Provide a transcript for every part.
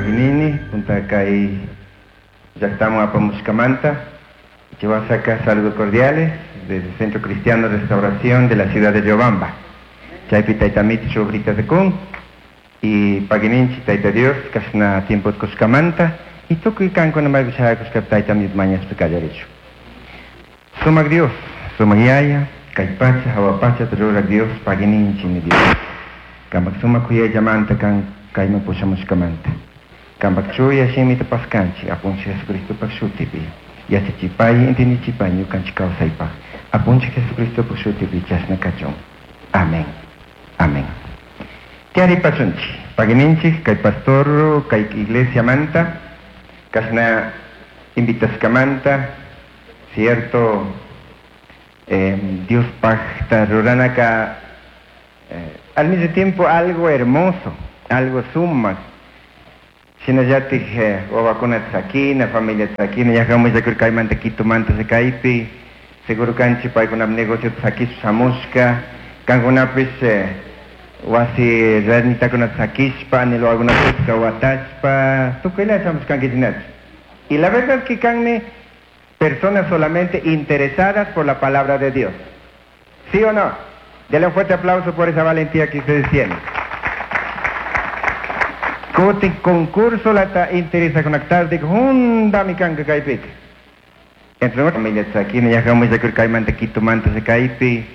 Paginini, punta kay llaqtaman apamushkamanta. Chihuasaca saludos cordiales desde el Centro Cristiano Restauración de la ciudad de Riobamba. Chaypi tayta Amito shugrita kun y pagininchi tayta Dios kashna tiempo kushkamanta y tukuy kankuna maypi shayakushka tayta Amito mañashpa kallarichu. Sumak Dios, sumak yaya, kay pacha, hawa pacha rurak Dios, pagininchi mi Dios. Kampak sumak kuyayllamanta kan kayman pushamushkamanta. Kampak chuya shimita paskanchik, Apunchik Jesucristopak shutipi. Yachachipay, entendichipay ñukanchik kawsaypaq. Apunchik Jesucristopak shutipi chashna kachun. Amén. Amén. Tiyaripashunchik, pagininchik, kay pastor, kay iglesia manta, kashna invitashkamanta, cierto, Dios pacta ruranaka, al mismo tiempo algo hermoso, algo sumak. Shinallatik wawakuna tzakina, familia tzakina, yajamullakur kaymanta Quitumanta kaypi, seguro kanchi paykunap negocio tzakishpa shamushka, kankunapish wasi ranitakuna tzakishpa, anilwakunapish watashpa, tukuyla shamushkankichinachu. Y la verdad es que kanmi personas solamente interesadas por la palabra de Dios. ¿Sí o no? Denle un fuerte aplauso por esa valentía que ustedes tienen. Kutin concurso lata interesa conectar de hunda mi kanka kaypik. Entre familia tzakina, yajamullakur kaymanta Quitumanta kaypi,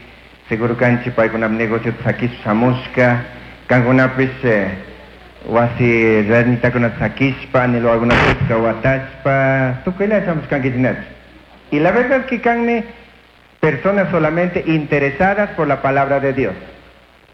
seguro kanchi paykunap negocio tzakishpa shamushka, kankunapish wasi ranitakuna tzakishpa, anilwakunapish watashpa, tukuyla shamushkankichinachu. Y la verdad es que kanmi personas solamente interesadas por la palabra de Dios.